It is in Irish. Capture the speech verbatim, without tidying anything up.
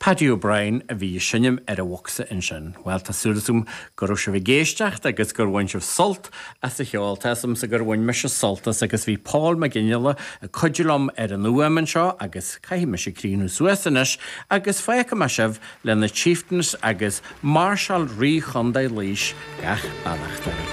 Paddy O'Brien a bhí ag seinm ar an bhocsa ansin. Well tá súil agam go raibh sibh ag éisteacht agus gur bhain sibh sult as an cheol Tá's agamsa gur bhain mise sult as agus bhí Paul McGinley ag cuidiú liom ar an fhuaim anseo agus caithfidh mise críochnú suas anois agus fágfaidh mé sibh le na Chieftains agus Máirseáil Rí Chontae Laois gach beannacht.